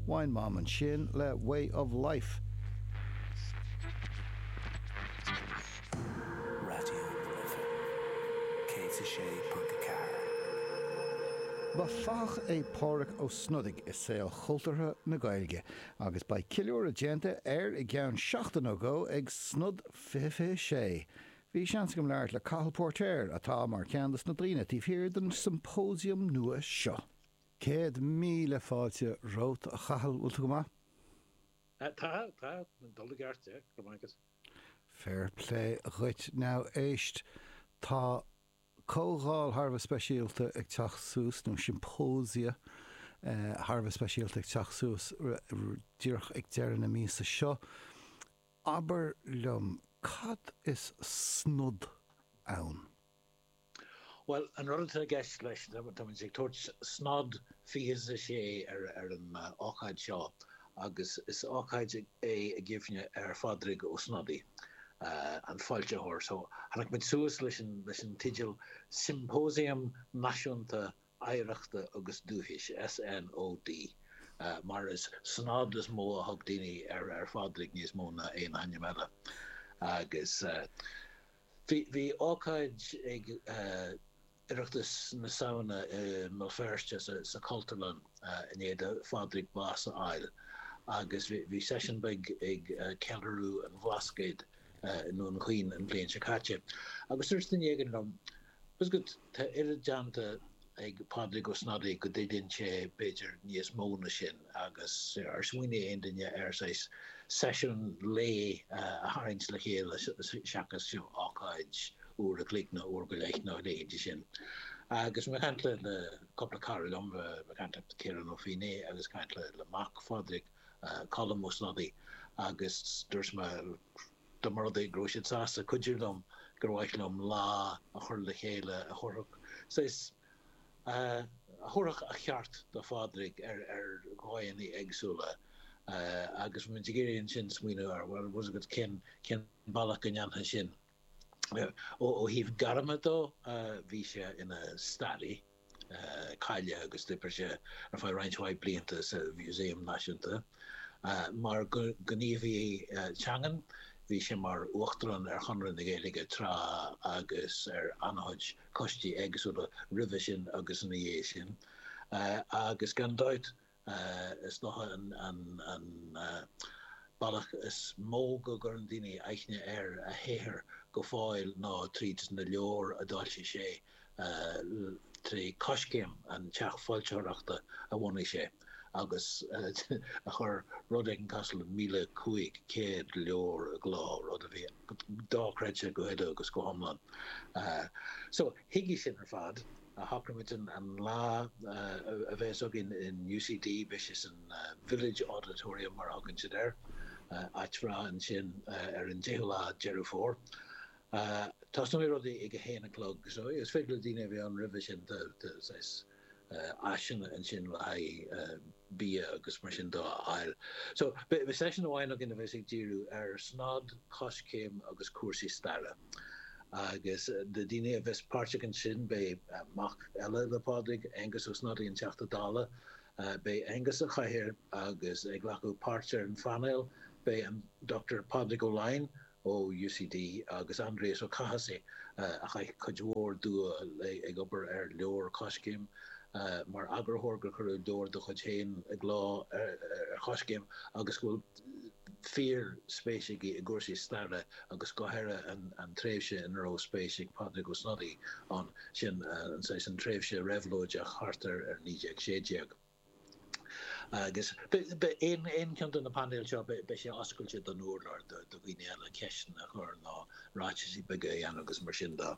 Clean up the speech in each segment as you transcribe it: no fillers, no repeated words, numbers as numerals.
Wine Mom ansin le Way of Life. Raidió na Life 106.4. Ba fathach é Pádraig Ó Snodaigh i saol chultúrtha na Gaeilge agus beidh ceiliúradh déanta air i gceann seachtain nó dhó ag Snod 2026. Bhí seans agam labhairt le Cathal Póirtéir, atá mar cheann de na daoine taobh thiar den symposium nua seo. 100,000 fáilte romhat, a Chathail, bhfuil tú go maith? Tá, tá, ag dul i gceart, yeah, go raibh maith agat. Fair play dhuit. Now, éist, tá comhdháil thar a bheith speisialta ag teacht suas, nó symposia thar a bheith speisialta ag teacht suas díreach ag deireadh na míosa seo. Abair liom, cad is Snod ann? Bhuel, an rud atá i gceist leis, tá muid ag tabhairt Snod 26 ar an ócáid seo agus is ócáid é i gcuimhne ar Phádraig Ó Snodaigh, an foilsitheoir. So, tháinig muid suas leis an teideal Symposium Náisiúnta Oidhreachta agus Dúchais, SNOD, mar is Snod is mó a thug daoine ar Phádraig níos mó ná aon ainm eile. Agus bhí ócáid ag Oireachtas na Samhna i mBéal Feirste sa Chultúrlann i ndiaidh do Phádraig bás a fháil agus bhí seisiún beag ag ceiliúradh an Bhlascaoid i nDún Chaoin an bhliain seo caite. Agus dúirt duine éigin liom, Tá's agat, tá oiread déanta ag Pádraig Ó Snodaigh go dtuilleann sé, b'fhéidir, níos mó na sin agus ar smaoinigh aon duine ar saghas seisiún lae a tharraingt le chéile seachas ócáid uair a chloig nó uair go leith nó a leithéidí sin. Agus mé ag caint le cúpla cara liom, mé ag caint le Ciarán Ó Feinneadha agus ag caint le mac Phádraig, Colm Ó Snodaigh, agus dúirt mé, dá mba rud é go raibh siad sásta cuidiú liom, gur mhaith liom lá a chur le chéile a thabharfadh saghas, a thabharfadh a cheart do Phádraig ar dhóigheanna éagsúla agus bhí muid ag iarraidh ansin smaoineamh ar, bhuel, bhfuil a fhios agat cén, cén bealach go ndéanfá sin. Ó thaobh gairme dó, bhí sé ina staraí. cáilithe agus d'oibrigh sé ar feadh roinnt mhaith blianta sa Mhúsaem Náisiúnta. Mar ghníomhaí teangan, bhí sé mar Uachtarán ar Chonradh na Gaeilge tráth agus ar an-chuid coistí éagsúla roimhe sin agus ina dhiaidh sin. Agus gan dabht, Is dócha an bealach is mó go gcuireann daoine aithne ar a shaothar go fóill ná tríd na leabhair a d'fhoilsigh sé trí Coiscéim, an teach foilsitheoireachta a bhunaigh sé agus a chuir rud éigin cosúil le 1,500 leabhar i gcló, rud a bhí dochreidte go huile agus go hiomlán. So, chuige sin ar fad. Shocraigh muid an lá a bheas againn in UCD, beidh sé san Village Auditorium mar a thugann siad air, áit bhreá ansin ar an 10ú lá Deireadh Fómhair. Tosnóidh rudaí ag a haon a chlog so is féidir le daoine a bheith ann roimhe sin, tá saghas áiseanna ansin le haghaidh bia agus mar sin de a fháil. So, beidh seisiún amháin againn a bheas ag díriú ar Snod, Coiscéim agus cúrsaí staire. Agus na daoine a bheas páirteach ansin, beidh mac eile le Pádraig, Aengus Ó Snodaigh, an Teachta Dála, beidh Aengus sa chathaoir agus ag glacadh páirt ar an phainéal beidh an Dr Pádraig Ó Laighin, ó UCD agus Aindrias Ó Cathasaigh a chaith cuid mhór dua ag obair ar leabhar Coiscéim mar eagarthóir gur cuireadh leabhar dá chuid féin i gcló ar Choiscéim agus go bhfuil fíor spéis aige i gcúrsaí staire agus go háirithe an tréimhse ina raibh spéis ag Pádraig Ó Snodaigh ann, sin an saghas an tréimhse réabhlóideach thart ar 1916. Agus beidh aon cheann de na painéil seo, beidh sé oscailte don urlár do dhaoine eile ceisteanna a chur nó ráitisí beaga a dhéanamh agus mar sin de.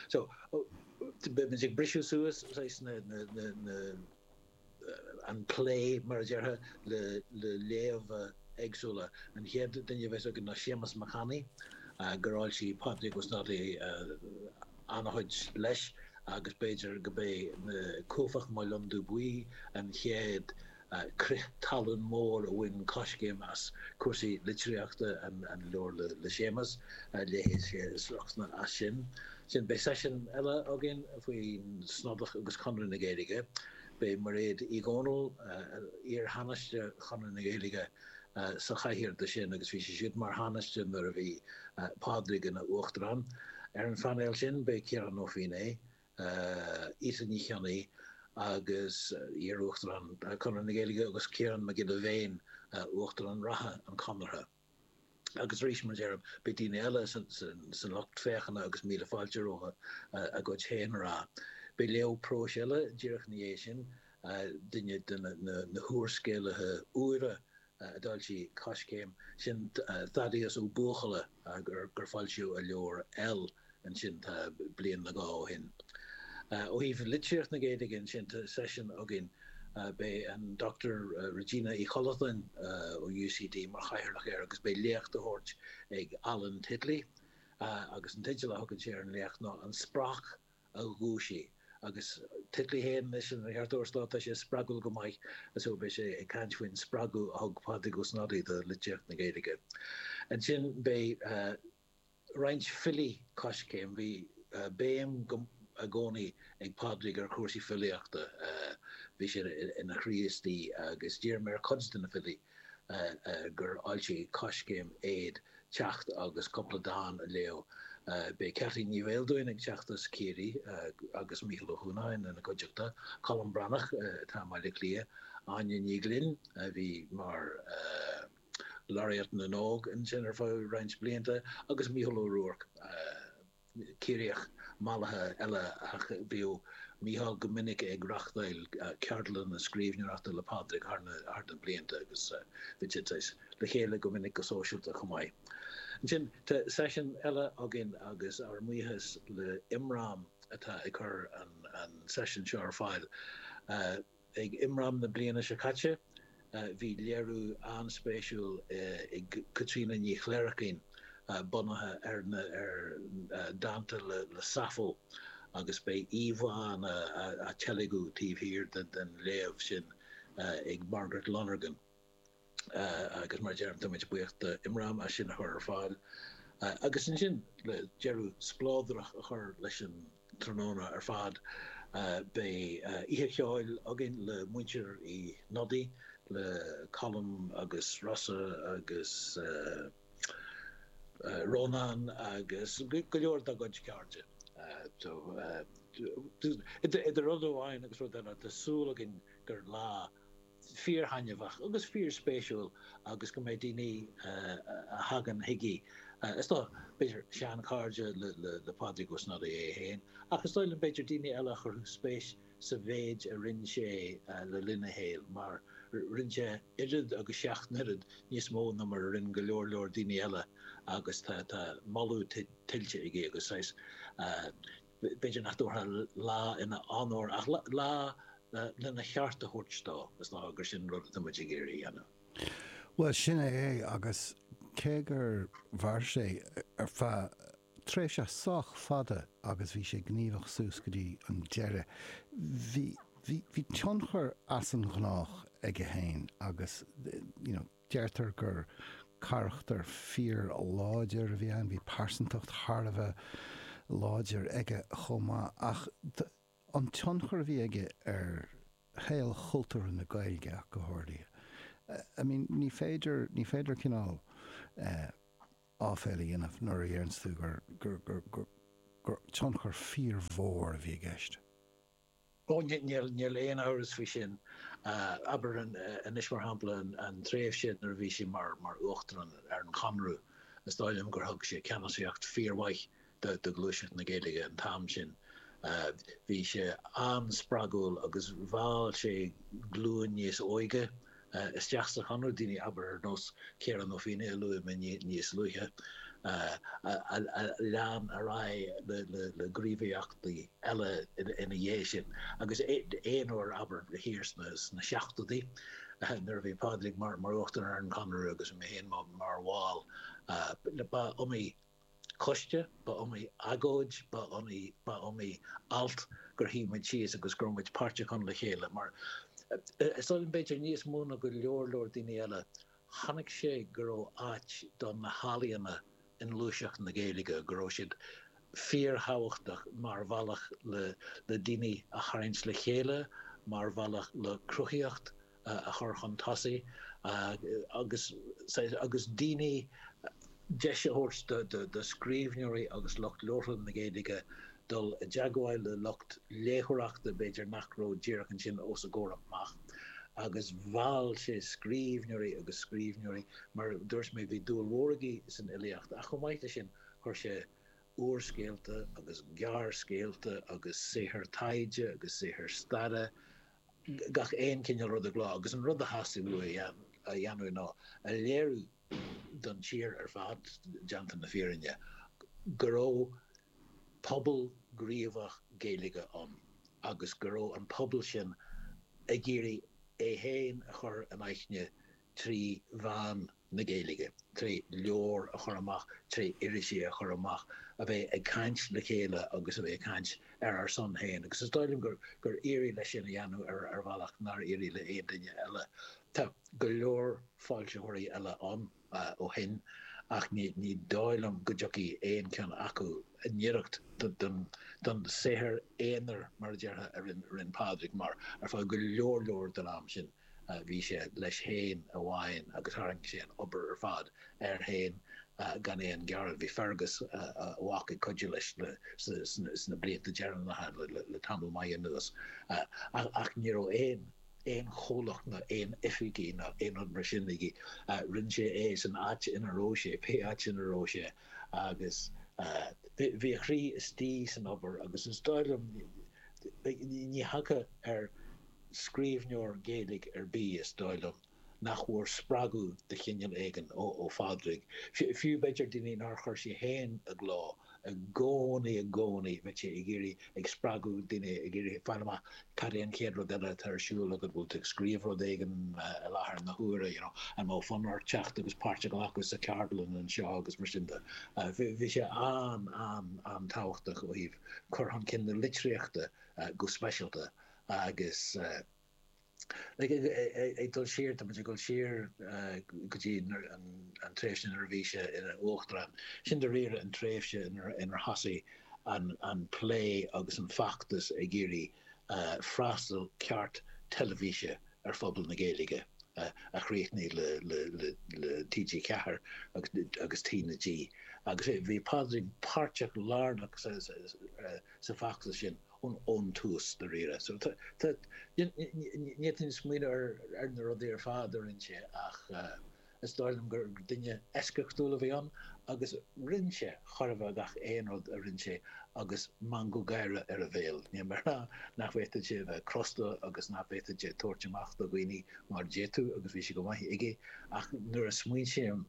So, beidh muid ag briseadh suas saghas na, na, na, an plé, mar a déarfá, le, le léamha éagsúla. An chéad duine a bheas againn ná Séamus Mac Annaidh, gur fhoilsigh Pádraig Ó Snodaigh an-chuid leis. agus b'fhéidir go b'é Cuaifeach Mo Londubh Buí an chéad crith talún mór a bhain Coiscéim as cúrsaí litríochta, an leabhar le Séamus, léifidh sé sliochtanna as sin. Ansin beidh seisiún eile againn faoin Snodach agus Conradh na Gaeilge. Beidh Mairéad Uí Dhomhnaill, iar-Thánaiste Chonradh na Gaeilge, sa chathaoir de sin agus bhí sí siúd mar Thánaiste nuair a bhí Pádraig ina Uachtarán. Ar an phainéal sin beidh Ciarán Ó Feinneadha, Ita Ní Chionnaith agus iar-Uachtarán Chonradh na Gaeilge agus Ciarán Mac Giolla Bhéin, Uachtarán reatha an Chonartha. Agus arís, mar a deirim, beidh daoine eile san lucht féachana agus míle fáilte rompu a gcuid féin a rá. Beidh léamh próis eile díreach ina dhiaidh sin, duine de na húrscéalaithe úra a d'fhoilsigh Coiscéim, sin Thaddeus Ó Buachalla gur foilsíodh a leabhar L ansin tá bliain nó dhó ó shin. Ó thaobh litríocht na Gaeilge ansin tá seisiún againn, beidh an Dr Regina Uí Chollatáin ó UCD mar chathaoirleach air agus beidh léacht á thabhairt ag Alan Titley agus an teideal a thugann sé ar an léacht ná An Spraic a Dhúisigh agus Titley féin anois ina cheartóir stáit tá sé spreagúil go maith so beidh sé ag caint faoin spreagadh a thug Pádraig Ó Snodaigh do litríocht na Gaeilge. Ansin beidh roinnt filí Coiscéim. Bhí béim i gcónaí ag Pádraig ar chúrsaí filíochta, bhí sé ina chroí istigh agus d'iarr mé ar chuid de na filí gur fhoilsigh Coiscéim iad teacht agus cúpla dán a léamh. Beidh Ceaití Ní Bheildiúin ag teacht as Ciarraí agus Mícheál Ó hUanacháin ina cuideachta, Colm Breathnach atá i mBaile Átha Cliath, Áine Ní Ghlinn a bhí mar. Laureate na nÓg ansin ar feadh roinnt blianta agus Mícheál Ó Ruairc, Ciarraíoch mallaithe eile ach bhíodh Mícheál go minic ag reachtáil ceardlanna scríbhneoireachta le Pádraig thar na blianta agus bhí siad saghas le chéile go minic go sóisialta chomh maith. Ansin tá seisiún eile againn agus ár mbuíochas le Imram atá ag cur an seisiún seo ar fáil. Ag Imram na bliana seo caite, bhí léiriú an-spéisiúil ag Caitríona Ní Chléirchín bunaithe ar ar dánta le Sappho agus beidh íomhánna á teilgeadh taobh thiar den léamh sin ag Margaret Lonergan. Agus mar a deirim, tá muid buíoch do Imram as sin a chur ar fáil. Agus ansin, le deireadh spleodrach a chur leis an tráthnóna ar fad, beidh oíche cheoil againn le muintir Uí Shnodaigh, le Colm agus Rossa agus Rónán agus go leor dá gcuid cairde. So, idir rud amháin agus rud eile, tá súil againn gur lá fíorthaitneamhach agus fíorspéisiúil agus go mbeidh daoine a thagann chuige, is dóigh, b'fhéidir seanchairde le Pádraig Ó Snodaigh é féin, ach is dóigh liom b'fhéidir daoine eile a chuirfeadh spéis sa mhéid a rinne sé le linn a shaoil, mar rinne sé oiread agus 7 n-oiread níos mó ná mar a rinne go leor leor daoine eile agus tá moladh tuillte aige agus saghas B'fhéidir nach dtabharfá lá ina onóir ach lá lena cheart a thabhairt dó, is dócha gur sin an rud atá muid ag iarraidh a dhéanamh. Bhuel, sin é é agus cé gur mhair sé ar feadh tréimhse sách fada agus bhí sé gníomhach suas go dtí an deireadh, bhí, bhí, bhí tionchar as an ghnách aige féin agus, you know, Deirtear gur carachtar fíor-láidir a bhí ann, bhí pearsantacht thar a bheith láidir aige chomh maith, ach an tionchar a bhí aige ar shaol chultúrtha na Gaeilge ach go háirithe. I mean, ní féidir, ní féidir cineál áiféil a dhéanamh nuair a dheireanns tú gur, gur, gur, gur, gur tionchar fíormhór a bhí i gceist. Ó, níl aon amhras faoi sin. Abair anois, mar shampla, an tréimhse nuair a bhí sé mar Uachtarán ar an Chonradh, is dóigh liom gur thug sé ceannasaíocht fíormhaith do ghluaiseacht na Gaeilge an t-am sin. Bhí sé an-spreagúil agus mheall sé glúin níos óige isteach sa Chonradh, daoine, abair, ar nós Ciarán Ó Feinneadha a luaigh mé níos luaithe, a lean ar aghaidh le gníomhaíochtaí eile ina dhiaidh sin. Agus aon uair, abair, thiar sna seachtóidí, nuair a bhí Pádraig mar Uachtarán ar an Chonradh agus mé féin mar bhall, ba iomaí coiste, ba iomaí agóid, ba iomaí, ba iomaí alt gur shuigh muid síos agus go raibh muid páirteach ann le chéile mar is dóigh liom b'fhéidir níos mó ná go leor leor daoine eile, chonaic sé go raibh áit do na healaíona i ngluaiseacht na Gaeilge, go raibh siad fíorthábhachtach mar bhealach le le daoine a tharraingt le chéile. mar bhealach le cruthaíocht a chur chun tosaigh agus agus daoine, deis a thabhairt do scríbhneoirí agus lucht labhartha na Gaeilge dul i dteagmháil le lucht léitheoireachta b'fhéidir nach raibh díreach ansin os a gcomhair amach. Agus mheall sé scríbhneoirí agus scríbhneoirí, mar a dúirt mé bhí dúil mhór aige san fhilíocht ach chomh maith leis sin chuir sé úrscéalta agus gearrscéalta agus saothair taighde agus saothair staire, gach aon chineál rud i gcló agus an rud a theastaigh uaidh a dhéanamh ná a léiriú don tír ar fad, déanta na fírinne, go raibh pobal gníomhach Gaeilge ann agus go raibh an pobal sin ag iarraidh é féin a chur in aithne trí mheán na Gaeilge, tré leabhair a chur amach, tré irisí a chur amach, a bheith ag caint le chéile agus a bheith ag caint ar ár son féin. Agus is dóigh liom gur gur éirigh leis sin a dhéanamh ar ar bhealach nár éirigh le aon duine eile. Tá go leor foilsitheoirí eile ann ó shin ach ní ní dóigh liom go dtiocfaidh aon cheann acu i ngiorracht don don saothar aonair, mar a déarfá, a rinne Pádraig mar ar feadh go leor leor den am sin. Bhí sé leis féin amháin agus tharraing sé an obair ar fad air féin gan aon ghearán. Bhí Fergus, a mhac, ag cuidiú leis sna blianta deireanacha le tamall maith anuas ach ní raibh aon aon chomhlacht ná aon oifigí ná aon rud mar sin aige. Rinne sé é san áit ina raibh sé, pé áit ina raibh sé agus bhí a chroí istigh san obair agus is dóigh liom ní thiocfá ar scríbhneoir Gaeilge ar bith, is dóigh liom, nach bhfuair spreagadh de chineál éigin ó Phádraig. Fiú, b'fhéidir, daoine nár chuir sé féin i gcló, i gcónaí, i gcónaí, bheadh sé ag iarraidh, ag spreagadh daoine, ag iarraidh fáil amach cad é an chéad rud eile atá ar siúl agat, bhfuil tú ag scríobh rud éigin i láthair na huaire, you know, an mbeadh fonn ort teacht agus páirt a ghlacadh sa cheardlann anseo agus mar sin de. Bhí sé an, an, an-tábhachtach ó thaobh cur chun cinn na litríochta go speisialta. Agus like ag dul siar, tá muid ag dul siar go dtí an tréimhse nuair a bhí sé ina uachtarán. Sin dáiríre an tréimhse inar thosaigh an plé agus an feachtas ag iarraidh freastal ceart teilifíse ar phobal na Gaeilge a chríochnaigh le TG4 agus TnaG. Agus bhí Pádraig páirteach lárnach sa bhfeachtas sin ón tús, dáiríre. So tá, ní fhéadfainn smaoineamh ar na rudaí ar fad a rinne sé ach is dóigh liom gur duine eisceachtúil a bhí ann agus rinne sé chóir a bheith gach aon rud a rinne sé agus meangadh gáire ar a bhéal. Níl mé ag rá nach bhféadfadh sé a bheith crosta agus nach bhféadfadh sé tabhairt amach do dhaoine mar d'fhéadfadh agus bhí sé go maith aige ach nuair a smaoiním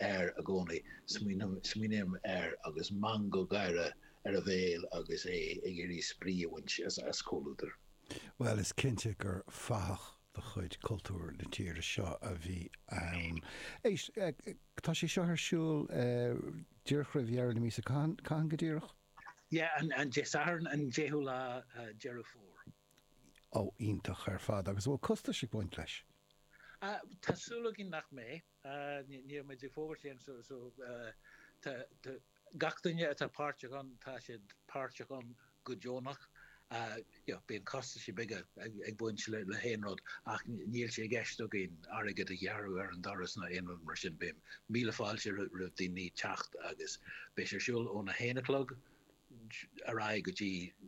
air i gcónaí, smaoiním air agus meangadh gáire ar a bhéal agus é ag iarraidh spraoi a bhaint as comhluadar. Bhuel, is cinnte gur fathach de chuid cultúr na tíre seo a bhí ann. Éist, tá sé seo ar siúl díreach roimh dheireadh na míosa, cathain go díreach? Yeah, an Dé Sathairn, an 10ú lá Deireadh Fómhair. Ó, iontach ar fad. Agus an bhfuil costais ag baint leis? Tá súil againn nach mbeidh. Níl muid ag fógairt aon so so tá gach duine atá páirteach ann, tá siad páirteach ann go deonach. You know, bíonn costaisí beaga ag baint le le haon rud ach níl sé i gceist againn airgead a ghearradh ar an doras ná aon rud mar sin. Beidh míle fáilte roimh daoine teacht agus beidh sé ar siúl óna haon a chlog ar aghaidh go dtí.